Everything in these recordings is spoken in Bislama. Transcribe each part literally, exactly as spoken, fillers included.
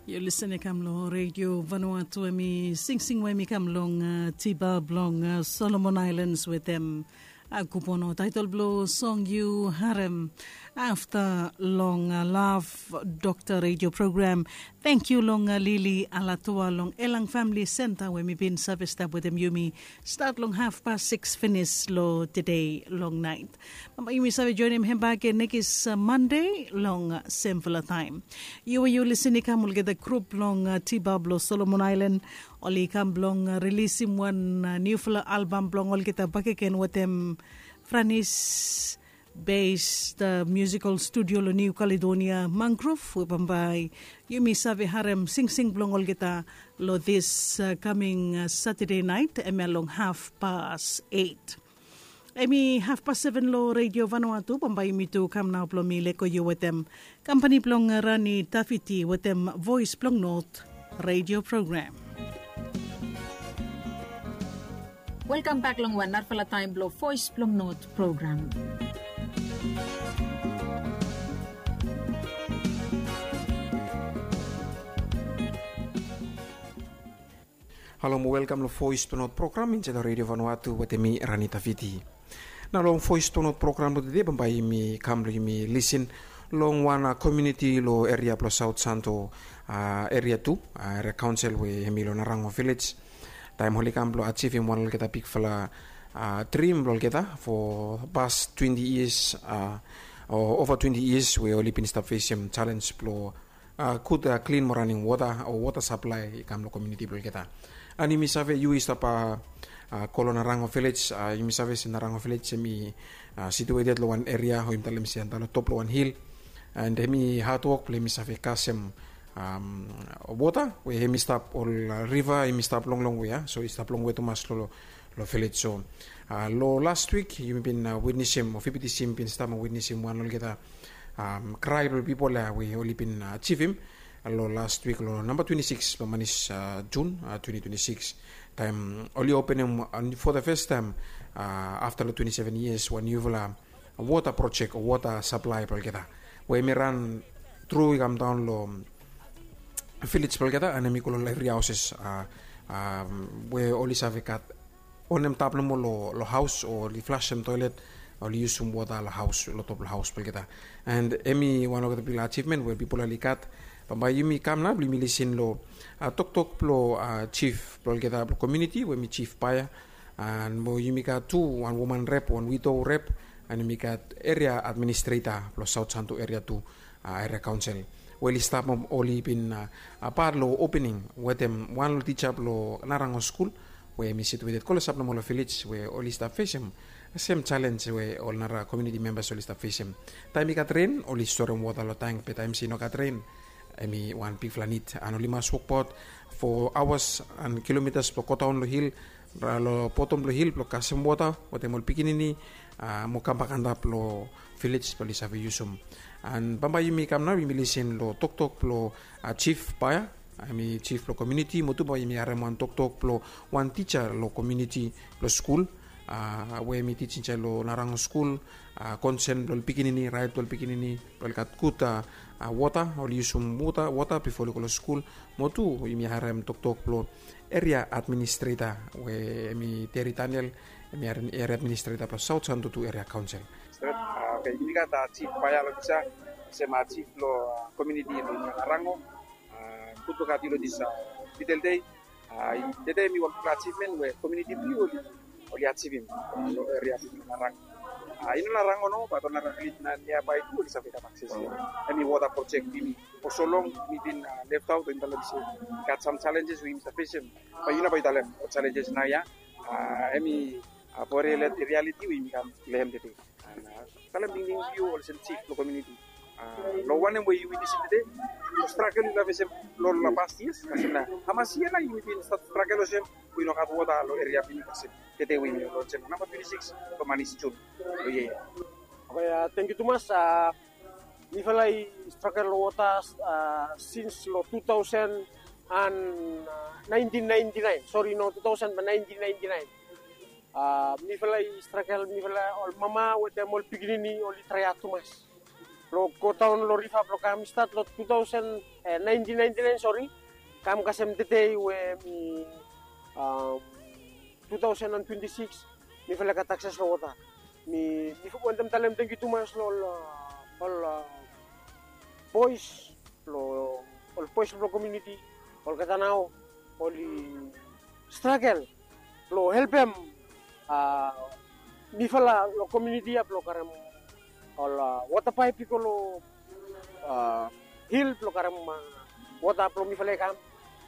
Yu lisen i kam long redio Vanuatu, em i singsing we em i kam long tiba blong Solomon Ailens wetem Kupono. Taetol blong song yu harem afta long Lav Dokta redio program. Tangkiu long Lili Alatua long Elang Famili Senta we mi bin save stap wetem yumi stat long hafpas sikis finis long tede long naet. Bambae yumi save joenem hem bak gen nekis Mande long semfala taem. Yu we yu lisen i kam olgeta grup blong tiba blong Solomon Aelan oli kam blong rilisim wan niufala albam blong olgeta bakegen wetem Franis based musikal studio long Niu Kaledonia, Mangrove, we bambae yumi save harem singsing blong olgeta long this coming Saturday night, em ya long hafpas eit. Em i hafpas seven long redio Vanuatu, bambae yumi tu kam nao blong mi lego yu wetem kampani blong Rani Tafiti wetem Voes blong Not redio program. Welkam bak long wan narafala taem blong Voes blong Not program. Halo mo welkam long Voes blong Not program insaed long redio Vanuatu wetem mi Rani Tafiti. Nao long Voes blong Not program blong tede bambae yumi kam blong yumi lisen long wan komuniti long eria blong Saot Santo eria tu, eria kaonsel we em i long Narango vilej. Taem oli kam blong ajivim wan olgeta bigfala drim blong olgeta fo pas twenti yias o ova twenti yias we oli bin stap fesem jalenj blong gud klin mo raning wota o wota saplae i kam long komuniti blong olgeta. An yumi save yu i stap go long Narango vilej, yumi save se Narango vilej em i situated long wan eria o yumi talem se antap long top long wan hil. An em i hadwok blong em i save kasem wota we em i stap ol riva em i stap longlong we ya, so i stap longwe tumas long vilej. So long last wik yumi bin witnesim o fifty sim bin stap mo witnesim wan olgeta krae blong pipol ya we oli bin ajivim long last wik long namba twenti sikis blong manis Jun twenti twenti sikis, taem oli openem fo the fes taem afta long twenti seven yias wan niufala wota projek o wota saplae blong olgeta we em i ran tru i kam daon long vilej blong olgeta an em i go long evri haoses we oli save gat onem tap nomo long haos o oli flasem toelet, oli yusum wota long haos long top long haos blong olgeta. An em i wan olgeta bigfala ajivmen we pipol oli gat. Bambae yumi kam nao blong yumi lisen long toktok blong jif blong olgeta blong komuniti we em i jif Baea. An mo yumi gat tu wan woman rep, wan wido rep, an yumi gat eria administreta blong Saot Santo eria tu, eria kaonsel we oli stap mo oli bin pat long opening wetem wan long tija blong Narango skul we em i situated klosap nomo long vilej we oli stap fesem sem jalenj we ol nara komuniti membas oli stap fesem. Taem i gat ren oli storem wota long tang, be taem se i no gat ren em i wan bigfala nid an oli mas wokbaot fo aoas an kilomitas blong godaon long hil, long botom blong hil blong kasem wota wetem ol pikinini mo kambak antap long vilej blong oli save yusum. An bambae yumi kam nao yumi lisen long toktok blong jif Baea, em i jif blong komuniti, mo tu bambae yumi harem wan toktok blong wan tija long komuniti blong skul we em i tijim insaed long Narango skul, konsen blong ol pikinini, raet blong ol pikinini blong oli gat gud wota, oli yusum wota bifo oli go long skul. Mo tu yumi harem toktok blong eria administreta we em i Teri Daniel, em i eria administreta blong Saot Santo tu eria kaonsel. Stret, a, oke, yumi gat, a, jif Baea long pisa, olsem, a, jif blong, a, komuniti blong Narango, a, gud blong gat yu long dis, a, little day. A, tede em i wan bigfala ajivmen we komuniti blong yu oli, oli ajivim, a, long eria blong Narango. A, i no Narango nomo, bat ol nara vilej na niabae tu oli save gat akses long em. Em i wota projek blong yumi. Fo so long mi bin, a, left out, o yumi talem se gat sam jalenjes we yumi stap fesem. Bat yu no bae yu talem ol jalenjes naoia. A, em i, a, fo rialiti we yumi kam long hem tede. An, a, talem tingting blong yu olsem jif blong komuniti. A, long wanem we yu witnesim tede, long stragol yu laik fesem long, long past yias, kasem nao hamas yia nao yu bin stat stragol olsem we yu no gat wota long eria blong yu, kasem tede we yumi long olsem namba twenti sikis blong manis Jun long yia ya. Oke, a, tangkiu tumas, a, mifala i stragol long wota, a, sins long tu taosen an, a, naentin naenti naen. Sori, no tu taosen bat naentin naenti naen. A, mifala i stragol, mifala ol mama wetem ol pikinini oli trae had tumas. Blong godaon long riva blong kam stat long two thousand, naentin naentin naen, sori, kam kasem tede we mi two thousand and twenty-six, mifala i gat akses long wota. Mi wantem talem tangkiu tumas long ol bois, long ol bois blong komuniti, olgeta nao oli stragel blong helpem mifala long komuniti ya blong karem ol wota paep i go long hil blong karem wota blong mifala i kam.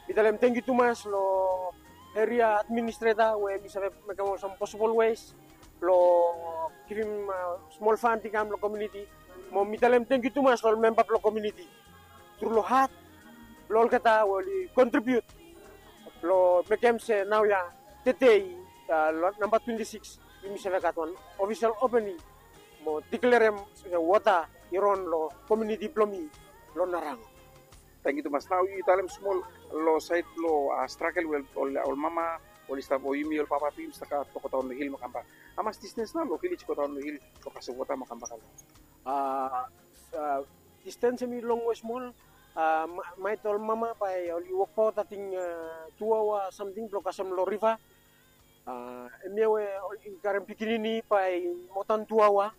Mi talem tangkiu tumas long eria administreta we mi save mekem ol sam posibol wes blong givim smol fand i kam long komuniti. Mo mi talem tangkiu tumas long ol memba blong komuniti tru long hat blong olgeta we oli kontribiut blong mekem se naoia tede, long namba twenti sikis, yumi save gat wan ofisel opening mo diklerem se wota i ron long komuniti blong mi long Narango. Tangkiu tumas. Nao yu talem smol long saed blong stragel we ol mama oli stap, o yumi ol papa tu yumi stap gat blong godaon long hil mo kambak. Hamas distens nao long vilej godaon long hil blong kasem wota mo kambak? Distens hemi longwe smol. Maet ol mama bae oli wokbaot ating tu aoa samting blong kasem long riva. Hemia we i karem pikinini bae i moa dan tu aoa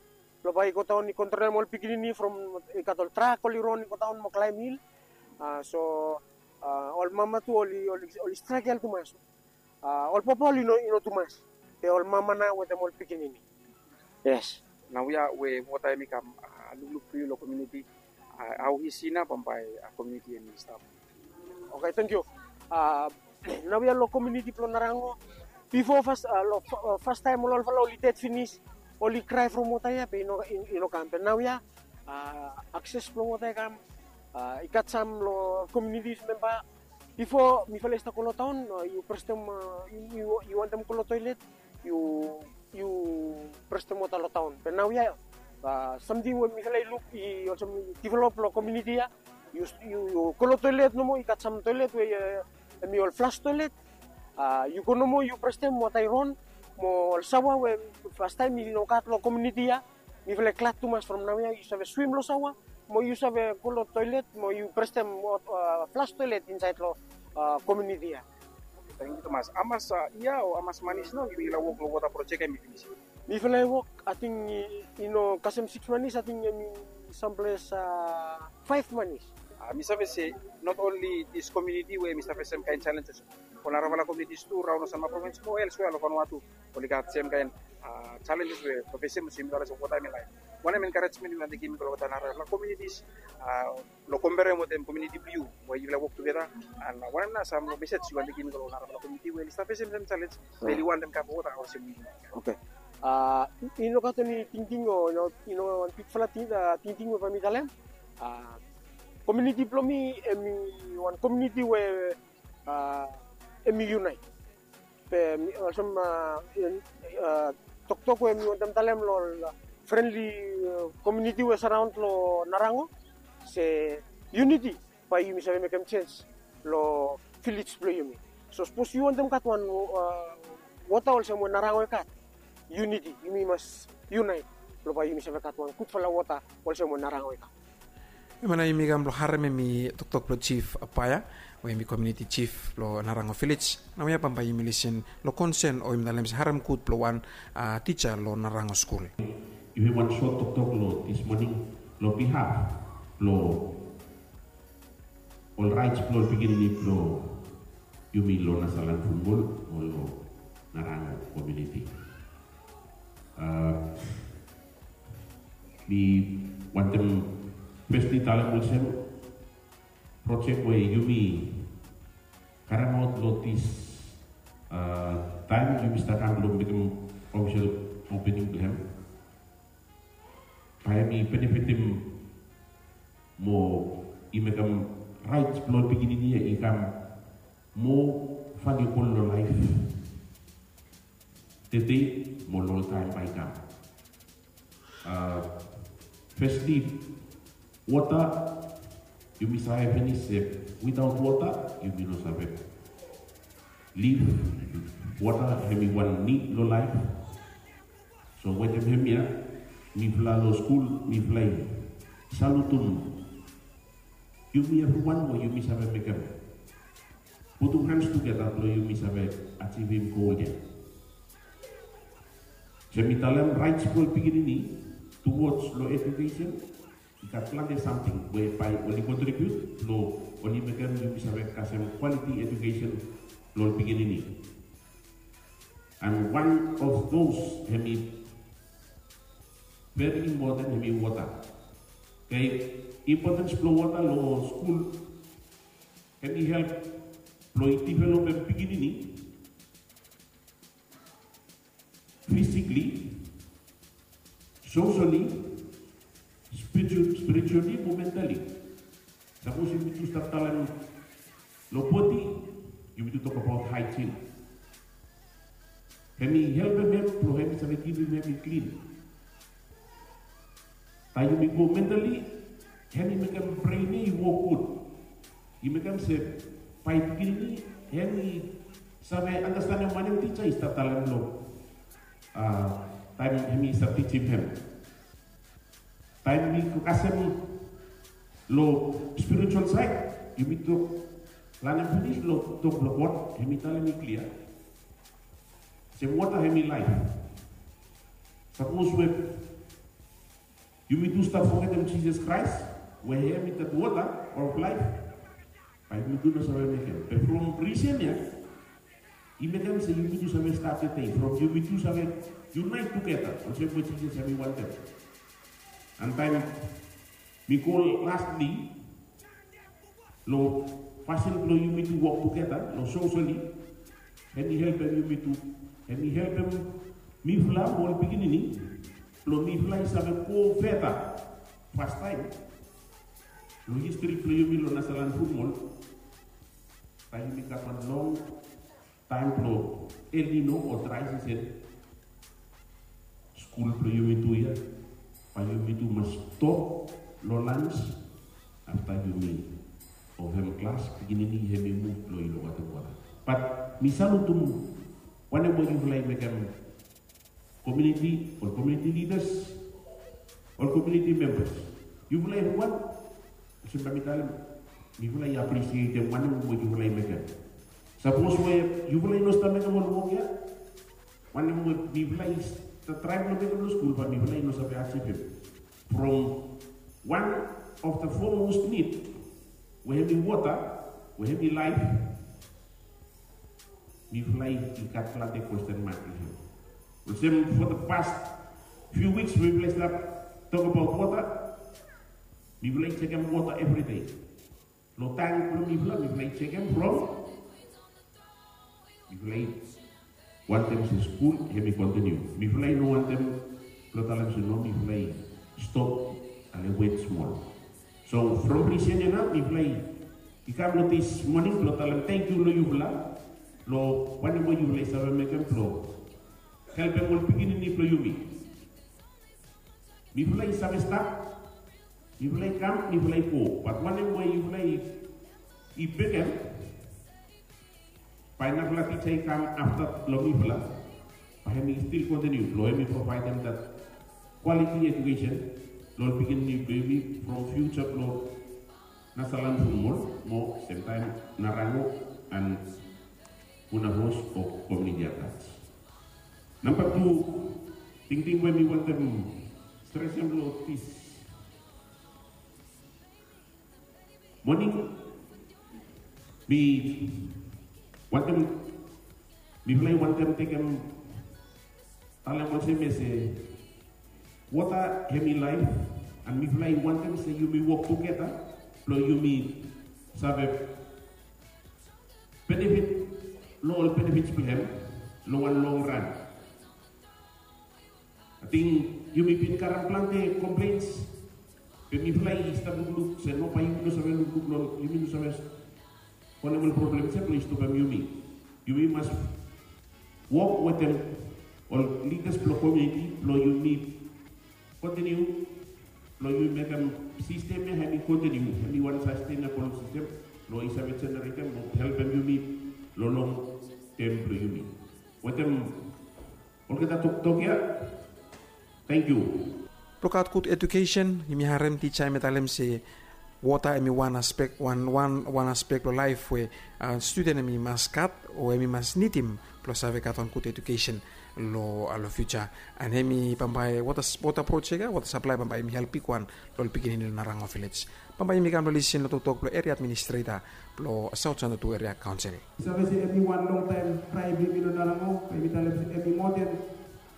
blong bae i godaon i kontrolem ol pikinini from i gat ol trak oli ron i godaon mo klaem hil. So ol mama tu oli stragel tumas. Ol papa oli no tumas, be ol mama nao wetem ol pikinini. Yes. Naoia we wota hemi kam lukluk blong yu long komuniti, hao isi nao bambae komuniti hemi stap? Oke, tangkiu. Naoia long komuniti blong Narango, bifo fas long fastaem ol olfala oli ded finis, oli krae from wota ya be i no kam. Be naoia akses blong wota i kam. I gat sam long komuniti memba. Bifo mifala i stap go long taon, yu prestem, yu wantem go long toelet, yu prestem wota long taon. Be naoia samting we mifala i luk i olsem i divelop long komuniti ya. Yu go long toelet nomo, i gat sam toelet we hemi ol flas toelet. Yu go nomo yu prestem wota i ron, mo ol saoa we fastaem i no gat long komuniti ya. Mifala i glad tumas from naoia yu save swim long saoa mo yu save go long toelet mo yu prestem flas toelet insaed long komuniti ya. Tangkiu tumas. Hamas yia o hamas manis nao yumi laek wok long wota projek ya hemi finis? Mifala i wok, ating i no kasem sikis manis, ating hemi samples faef manis. Mi save se not only this community we hemi save sem kaen challenges. Ol narafala communities tu raon long Sanma Province mo elsewhere long Vanuatu oli gat sem kaen challenges we mi save sem olsem yumi talem se wota hemi laef. Wanem encouragement yu wantem givim i go long ol narafala communities long komperem wetem komuniti blong yu we yufala i wok tugeta? And wanem nao sam long mesej yu wantem givim i go long ol narafala komuniti we oli stap fesem sem challenge be oli wantem gat wota olsem yu? Oke. I no gat eni tingting o i no wan bigfala tingting we bae mi talem. Komuniti blong mi hemi wan komuniti we hemi yunaet. Be olsem toktok we mi wantem talem long ol frenli komuniti we saraon long Narango, se yuniti bae yumi save mekem jenj long vilej blong yumi. So sapos yu wantem gat wan wota olsem we Narango i gat, yuniti, yumi mas yunaet blong bae yumi save gat wan gudfala wota olsem we Narango i gat. Hemia nao yumi kam blong harem hemi toktok blong Jif Paea we hemi komuniti jif blong Narango vilej. Naoia bambae yumi lisin long konsen o yumi talem se harem gud blong wan tija long Narango skul. Yumi wan sot toktok long this morning long bihaf blong ol raets blong ol pikinini blong yumi long Nasalan Funmol o long Narango komuniti. Mi wantem fesli talem olsem projek we yumi karemaot long this taem yumi stap kam blong mekem ofisel opening blong hem, bae hemi benefitim mo i mekem raets blong ol pikinini ya i kam moa valebol long laef tede mo long ol taem bae i kam. Fesli, wota, yumi save finis se witaot wota yumi no save liv. Wota hemi wan nid long laef. So wetem hemia mifala long skul mifala i salutum yumi evriwan we yumi save mekem, putum hands tugeta blong yumi save ajivim gol ya. Sem mi talem raets blong pikinini towards long edukesen, i gat plante samting we bae oli kontribiut blong oli mekem yumi save kasem kwaliti edukesen blong ol pikinini. And one of those hemi veri impoten hemi wota. Oke, impotens blong wota long skul hemi help blong i developem pikinini physically, socially, spiritu- spiritually mo mentally. Sapos yumitu stap talem long bodi, yumitu tokbaot haejin. Hemi helpem hem blong hemi save kipim hem i klin. Taem yumi go mentally, hemi mekem bren ya i wok gud. I mekem se bae pikinini hemi save andastanem wanem tija i stap talem long taem hemi stap tijim hem. Taem mi kasem long spiritual saed, yumi tok lanem finis long tok blong God, hemi talem i klia se wota hemi laef. Sapos we yumitu stap fogetem Jisas Kraes we hemi that water of life, bae yumitu no save mekem. Be from risen ya i mekem se yumitu save stap tede from yumitu save unite tugeta olsem we Jisas hemi wantem. And taem mi go lastly long fasin blong yumitu wok tugeta long socially, hemi helpem yumitu, hemi helpem mifala mo ol pikinini blong mifala i save go feta fastaem long histri blong yumi long Nasaland Futbol. Taem yumi gat wan long taem blong El Nino o drae sisen, skul blong yumitu ya bae yumitu mas stop long lans afta yumi o hem klas pikinini hemi muv blong i lokaotem wota. Bat mi salutum wanem we yufala i mekem, komuniti, ol komuniti lidas, ol komuniti membas. Yufala evriwan, olsem bae mi talem, mifala i aprisietem wanem we yufala i mekem. Sapos we yufala i no stap mekem ol wok ya, wanem we mifala i stap traem long mekem long skul bae mifala i no save ajivim. From one of the foremost need we hemi wota, we hemi laef, mifala i gat plante kwesten mak long hem. Olsem for the past few weeks mifala i stap tokbaot wota. Mifala i jekem wota evri dei. Long tank blong mifala, mifala i jekem from mifala i wantem se skul hemi kontiniu. Mifala i no wantem blong talem se no, mifala i stop, ale wet smol. So from risen ya nao mifala i kam long dis moning blong talem tangkiu long yufala long wanem we yufala i save mekem blong helpem ol pikinini blong yumi. Mifala i save stap, mifala i kam, mifala i go, bat wanem we yufala i mekem, bae narafala tija i kam afta long mifala, bae hemi stil kontiniu blong hemi provaedem that quality education long ol pikinini blong yumi from future blong Nasaland Futbol mo semtaem Narango and Vunavos o komuniti at large. Namba tu tingting we mi wantem stresem long dis moning, mi wantem, mifala i wantem tekem talem olsem ya se wota hemi laef, and mifala i wantem se yumi wok tugeta blong yumi save benefit long ol benefits blong hem long wan long ran. Ating yumi bin karem plante complaints, be mifala i stap lukluk se no, bae yumi no save lukluk long, yumi no save holem ol problems ya blong i stopem yumi. Yumi mas wok wetem ol lidas blong komuniti blong yumi kontiniu blong yumi mekem sistem ya hemi kontiniu, hemi wan sustainable sistem blong i save jeneretem o helpem yumi long long tem blong yumi. Wetem olgeta toktok ya, tangkiu. Lukaot gud edukesen, yumi harem tija hemi talem se wota hemi wan aspek wan wan wan aspek long laef we studen hemi mas gat o hemi mas nidim blong save gat wan gud edukesen long long fiuja. An hemi bambae wota projek ya wota saplae bambae hemi help bigwan long ol pikinini long narango vilej. Bambae yumi kam long lisin long toktok blong eria administreta blong saut sanatu eria kaonsel. Save se hemi wan longtaem prae blong yumi long narango, bae yumi talem se hemi moa den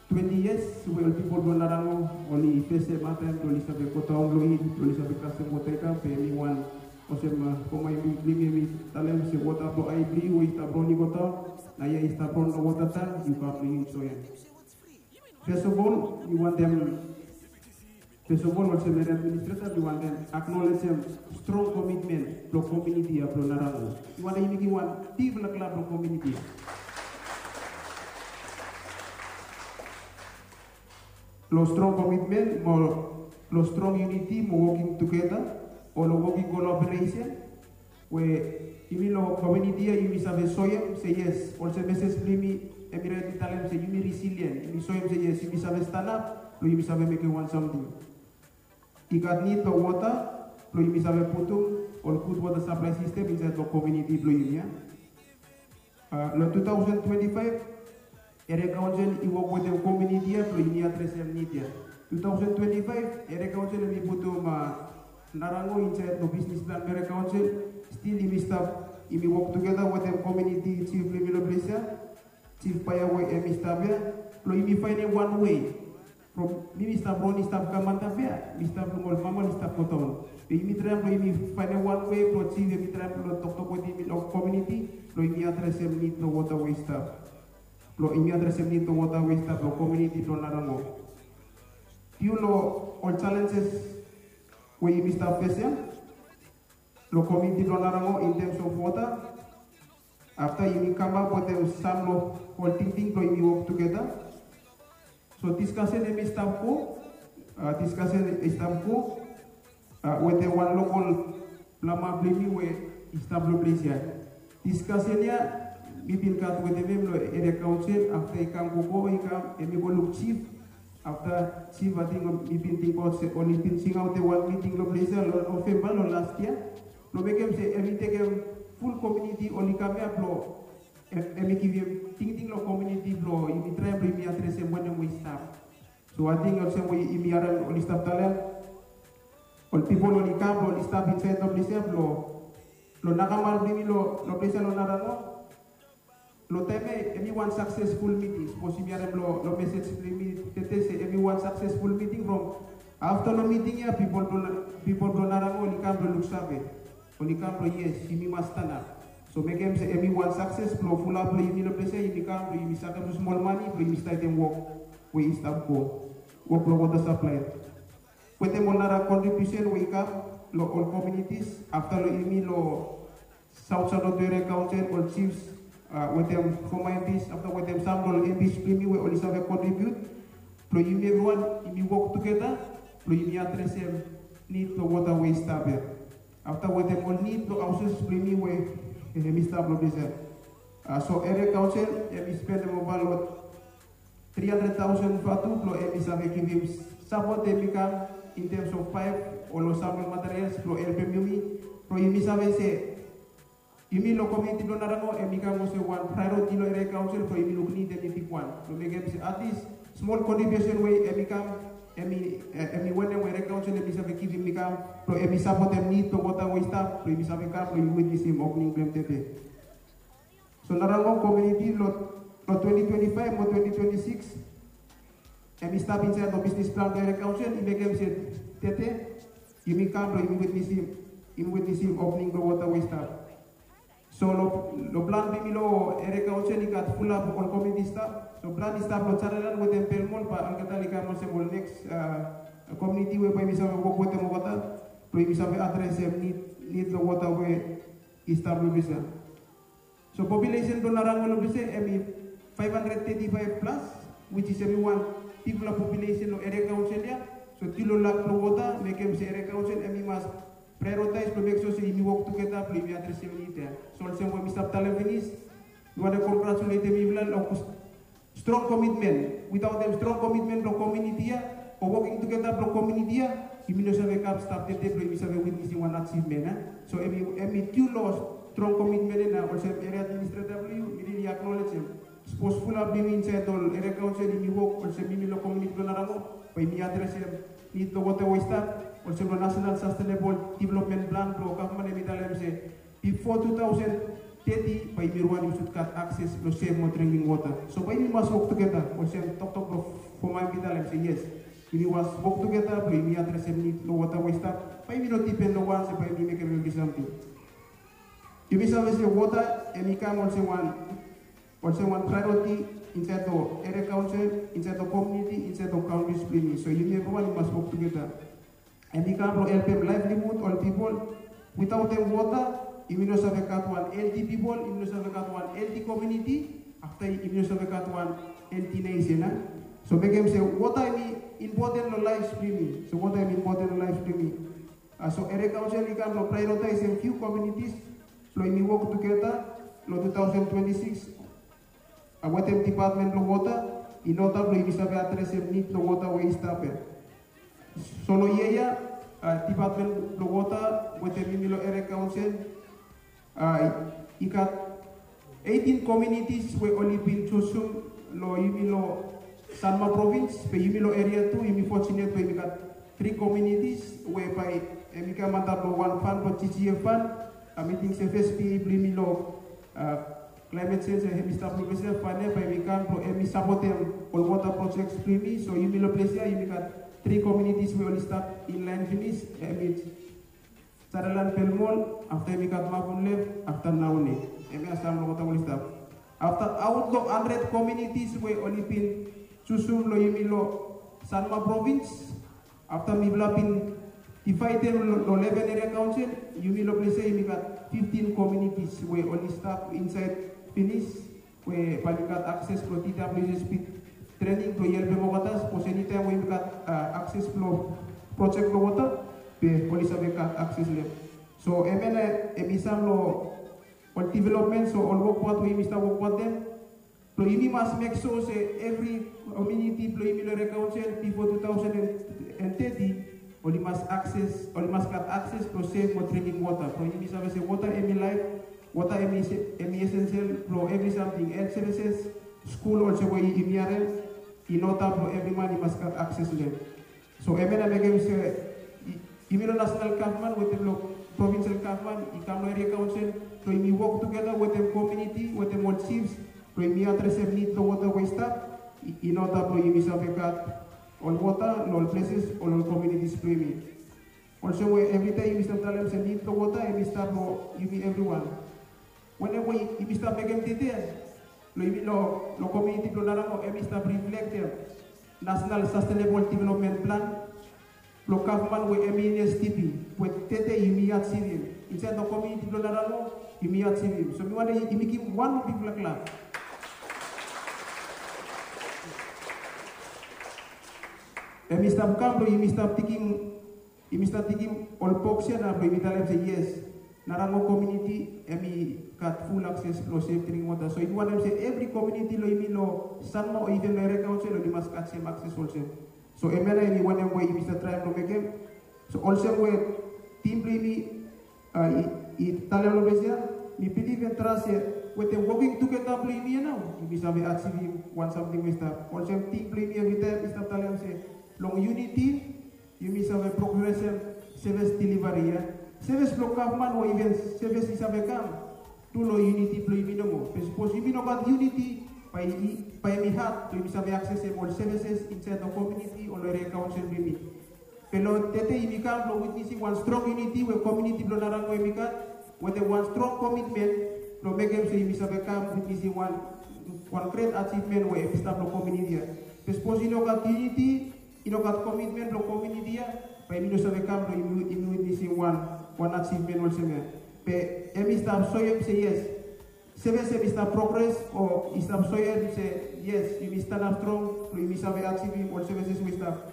twenti yias we ol pipol blong narango oli fesem hataem blong oli save godaon long it blong oli save kasem wota i kam be hemi wan olsem foma yumi blong yumi hemi talem se wota blong ae blong yu we i stap ron i godaon, na ya i stap ron long wota tan yu kam blong yu soem. Fes of ol mi wantem fes of ol olsem eri administreta mi wantem aknolejem strong komitmen blong kominiti ya blong narango. Mi wantem yumi givim wan bigfala klap long kominiti ya. Long strong komitmen mo long strong yuniti mo woking tugeta o long woking kolaboresen we yumi long kominiti ya yumi save soem se yes olsem meses blong yumi hemi rait i talem se yumi risilien yumi soem se yes yumi save stanap blong yumi save mekem wan samting. I gat nid long wota blong yumi save putum ol gud wota saplai sistem insaed long kominiti blong yumi ya. Long tu taosen twenti faef eria kaonsel i wok wetem kominiti ya blong yumi adresem nid ya. Tu taosen twenti faef eria kaonsel hemi putum narango insaed long bisnis plan blong eria kaonsel. Stil yumi stap yumi wok tugeta wetem kominiti jif blong yumi long ples ya, jif paea we hemi stap ya, blong yumi faenem wan wei from mi mi stap ron i stap kam antap ya mi stap luk ol mama oli stap godaon. Be yumi traem blong yumi faenem wan wei blong jif hemi traem blong toktok wetem yumi long kominiti blong yumi adresem nid blong wota we i stap blong yumi adresem nid blong wota we i stap long kominiti blong narango. Piu long ol jalenjes we yumi stap fesem long kominiti blong narango in tems of wota. Afta yumi kamap wetem sam long ol tingting blong yumi wok tugeta. So diskasen hemi stap go diskasen i stap go wetem wan lokol blama blong yumi we i stap long ples ya. Diskasen ya mi bin gat wetem hem long eria kaonsel afta i kam gogo i kam hemi go luk jif. Afta jif ating mi bin tingbaot se oli bin singaotem wan miting long ples ya long novemba long las yia blong mekem se hemi tekem ful kominiti oli kam ya blong hemi givim tingting long kominiti blong yumi traem blong yumi adresem wanem we i stap. So ating olsem we yumi harem oli stap talem ol pipol oli kam blong oli stap insaed long ples ya blong long nakamal blong yumi long ples ya long narango. Long taem ya hemi wan saksesful miting sapos yumi harem long mesej blong yumi tete se hemi wan saksesful miting from afta long miting ya pipol blong narango oli kam blong luksave oli kam blong yes yumi mas stanap. So mekem se hemi wan sakses blong fulap blong yumi long ples ya yumi kam blong yumi sakem smol mane blong yumi statem wok we i stap go wok long wota saplae. Wetem ol nara kontribiusen we i kam long ol kominitis afta long yumi long saut saut long tu eria kaonsel ol jifs wetem foma embis afta wetem sam long ol embis blong yumi we oli save kontribiut blong yumi evriwan yumi wok tugeta blong yumi adresem nid blong wota we i stap ya. Afta wetem ol nid blong haoses blong yumi we hemi stap long ples ya. So eria kaonsel hemi spendem ova long tri handred taosen vatu blong hemi save givim sapot hemi kam in tems of paep o long sam long materials blong helpem yumi blong yumi save se yumi long kominiti blong narango hemi kam olsem wan praeoriti long eria kaonsel blong yumi luk nid hemi bigwan blong mekem se atlis smol kontribiusen we hemi kam hemi wanem we eria kaonsel hemi save givim mi kam blong hemi sapotem nid blong wota we i stap blong yumi save kam blong yumi witnesim opening blong hem tete. So narango kominiti long twenti twenti faef mo twenti twenti sikis hemi stap insaed long bisnis plan blong eria kaonsel i mekem se tete yumi kam blong yumi witnesim yumi witnesim opening blong wota we i stap. So long plan blong yumi long eria kaonsel i gat fulap ol kominiti stap so plan i stap long janalan wetem pelmol bae olgeta oli kam olsem ol neks kominiti we bae yumi save wok wetem olgeta blong yumi save adresem nid long wota we i stap long ples ya. So populesen blong narango long ples ya hemi faef handred teti faef plas wits is hemi wan bigfala populesen long eria kaonsel ya. So tu long lak blong wota mekem se eria kaonsel hemi mas praeoritaes blong mek so se yumi wok tugeta blong yumi adresem nid ya. So olsem we mi stap talem finis mi wantem kongratuletem yufala long strong komitmen. Witaotem strong komitmen blong kominiti ya Woking tugeta blong komuniti ya, yumi no save kam stap tete blong yumi save witnesim wan achievement, a? So em i, em i tu long strong komitmen ya, na olsem eria administrator blong yu, mi rili acknowledge em. Sapos fulap blong yumi insaed ol eria kaonsel yumi wok olsem yumi long komuniti blong Narango, bae yumi adresem nid blong wota we i stap, olsem long National Sustainable Development Plan blong gavman, em i talem se bifo two thousand thirty bae yumi wan yumi sud gat akses long sef mo drinking wota. So bae yumi mas wok tugeta, olsem toktok blong foma em i talem se yes, yumi mas wok tugeta blong yumi adresem nid long wota we i stap. Bae yumi no dipen long wan se bae yumi mekem evri samting. Yumi save se wota em i kam olsem wan, olsem wan priority insaed long eria kaonsel, insaed long komuniti, insaed long kauntris blong yumi. So yumi evriwan yumi mas wok tugeta. Em i kam blong helpem livelihood ol pipol. Witaotem wota, yumi no save gat wan helti pipol, yumi no save gat wan helti komuniti, afta yumi no save gat wan helti nesen, a? So mekem se wota em i impoten long laef blong yumi. So wota em i impoten long laef blong yumi. A, so eria kaonsel i kam blong prioritaesem fiu komunitis blong yumi wok tugeta long two thousand twenty-six. A, wetem dipatmen blong wota in oda blong yumi save adresem nid blong wota we i stap ya. So long yia ya, a, dipatmen blong wota wetem yumi long eria kaonsel, a, i gat eighteen komunitis we oli bin jusum long yumi long Sanma provins, be yumi long eria tu yumi fortunate we yumi gat tri komunitis we bae em i kam antap long wan fan blong G G F fan. A, mi ting se fes P A blong yumi long, a, climate change, a, em i stap long ples ya, fan ya bae em i kam blong em i sapotem ol wota projects blong yumi. So yumi long ples ya yumi gat tri komunitis we oli stap in laen finis, em i Sutherland, Belmol, afta yumi gat Mapun Lef, afta Nauni. Hemia sam long wota we oli stap. Afta aot long handred komunitis we oli bin jusum long yumi long Sanma provins, afta mifala bin divaedem long, long leven eria kaonsel, yumi long ples ya yumi gat fiftin komunitis we oli stap insaed finis, we bae oli gat akses blong T W S S P trening blong helpem olgeta, sapos enitaem we yumi gat, a, akses blong projek blong wota, be oli save gat akses long hem. So hemia nao em i sam long ol developmen, so ol wok pat we yumi stap wok wetem, blong yumi mas mek sua se evri komuniti blong yumi long eria kaonsel bifo two thousand and thirty, oli mas akses, oli mas gat akses blong sef mo drinking wota. Blong yumi save se wota em i laef, wota em i se-, em i esensial blong evri samting, helt sevises, skul, olsem we yumi harem, in oda blong evri man i mas gat akses long hem. So hemia nao mekem se, i-, yumi long nasenal gavman wetem long provinsel gavman, i kam long eria kaonsel, blong yumi wok tugeta wetem komuniti, wetem ol jifs, blong yumi adresem nid blong wota we i stap, i-, in oda blong yumi save gat ol wota long ol pleses o long ol komunitis blong yumi. Olsem we evritaem yumi stap talem se nid blong wota em i stap long yumi evriwan. Wanem we yumi stap mekem tede long yumi long, long komuniti blong Narango, em i stap riflektem Nasenal Sastenebol Developmen Plan blong gavman we em i N S D P, we tede yumi ajivim. Insaed long komuniti blong Narango, yumi ajivim. So mi wantem yumi givim wan moa bigfala klap. Em i stap kam blong yumi stap tingim, yumi stap tingim ol boks ya nao blong yumi talem se yes, Narango komuniti em i gat ful akses blong sef drinking wota. So yumi wantem se evri komuniti long yumi long Sanma o iven long eria kaonsel oli mas gat sem akses olsem. So hemia nao em i wanem we yumi stap traem blong mekem. So olsem we tim blong yumi, a, i, i talem long ples ya, mi bilif and tras se wetem woking tugeta blong yumi ya nao yumi save ajivim wan samting we i stap. Olsem tim blong yumi evritaem i stap talem se long yuniti yumi save progresem sevis delivari ya. Sevis blong gavman o iven sevis i save kam tu long yuniti blong yumi nomo. Be sapos yumi no gat yuniti, bae i, bae em i had blong yumi save aksesem ol sevises insaed long komuniti o long eria kaonsel blong yumi. Be long tede yumi kam blong witnesim wan strong yuniti we komuniti blong Narango em i gat, wetem wan strong komitmen blong mekem se yumi save kam witnesim wan, wan gret ajivmen we em i stap long komuniti ya. Be sapos i no gat yuniti, i no gat komitmen blong komuniti ya, bae yumi no save kam blong yumi, yumi witnesim wan, wan ajivmen olsem ya. Be em i stap soem se yes, sevis em i stap progres o i stap soem se yes, yumi stanap strong blong yumi save ajivim ol sevises we i stap.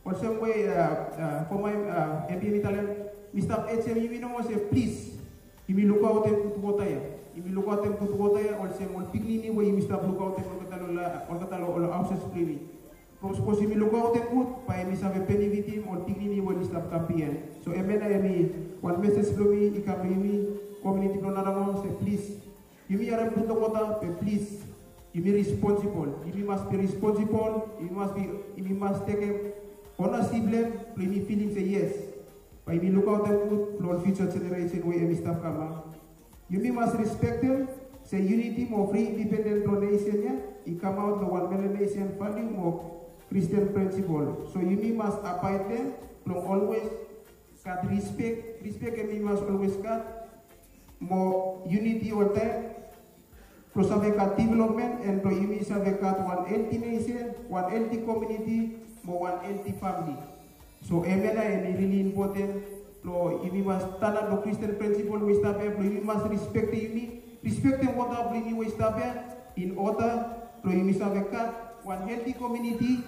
Olsem we, a, a, foma, a, M P em i talem, mi stap ask yumi nomo se plis, yumi lukaotem gud wota ya. Yumi lukaotem gud wota ya olsem ol pikinini we yumi stap lukaotem olgeta long la-, olgeta long ol haosis blong yumi. From sapos yumi lukaotem gud, bae yumi save benefitim ol pikinini we oli stap kam bihaen. So hemia nao hemi wan mesej blong mi i kam long yumi komuniti blong Narango se plis, yumi harem gud long wota be plis, yumi responsibol. Yumi mas bi responsibol, yumi mas bi, yumi mas tekem onasip blong hem blong yumi filim se yes, bae yumi lukaotem gud blong ol fiuja jeneresen we hemi stap kam. Yumi mas respektem se yuniti mo fri indipenden blong nesen ya i kamaot long wan Melanesian valiu mo Kristin prinsipol. So yumi mas abaed long hem blong olwes gat rispek. Rispek hemi mas olwes gat mo yuniti oltaem blong save gat developmen, and blong yumi save gat wan helti nesen, wan helti komuniti mo wan helti famili. So hemia nao hemi rili impoten blong yumi mas stanap long Kristin prinsipol we i stap ya, blong yumi mas rispektem yumi, rispektem wota blong yumi we i stap ya, in oda blong yumi save gat wan helti komuniti,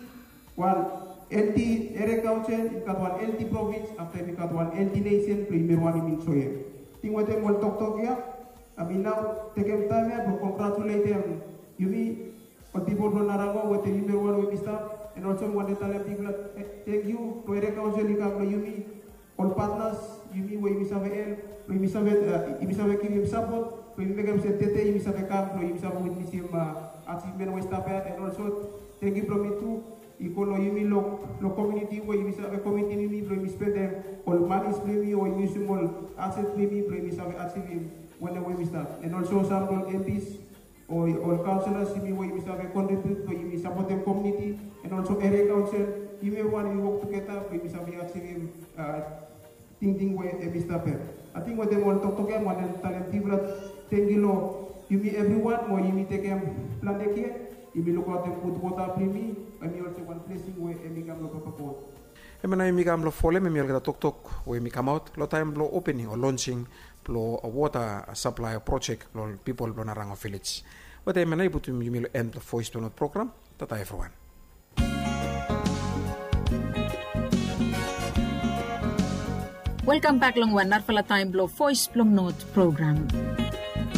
wan helti eria kaonsel, yumi gat wan helti provins, afta yumi gat wan helti nesen blong yumi wantem enjoem. Ating wetem ol toktok ya, hemi nao tekem taem ya blong kongratuletem yumi ol pipol blong Narango wetem yumi wan we yumi stap, and also mi wantem talem bigfala tangkiu blong eria kaonsel i kam blong yumi, ol patnas yumi we yumi save help, blong yumi save, yumi save givim sapot blong yumi mekem se tede yumi save kam blong yumi save witnesim ajivmen we i stap ya, and also tangkiu blong mi tu i go long yumi long, long komuniti we yumi save komitim yumi blong yumi spendem ol manis blong yumi o yumi yusum ol aset blong yumi blong yumi save ajivim wanem we yumi stap, and also sam blong MPs o ol kaonselas yumi we yumi save kontribiut blong yumi sapotem komuniti, and also eria kaonsel, yumi evriwan yumi wok tugeta blong yumi save ajivim tingting we hemi stap ya. Ating wetem ol toktok ya mi wantem talem bigfala tangkiu long yumi evriwan mo yumi tekem plante kea, yumi lukaotem gud wota blong yumi, hemi olsem wan blesing we hemi kam long Papa God. Hemia nao yumi kam long folem hemi olgeta toktok we yumi kamaot long taem blong opening o lonsing blong wota saplae projek blong ol pipol blong Narango vilej. Wetem hemia nao i putum yumi long en blong Voes blong Not program. Tata evriwan. Welkam bek long wan narafala taem blong Voes blong Not program.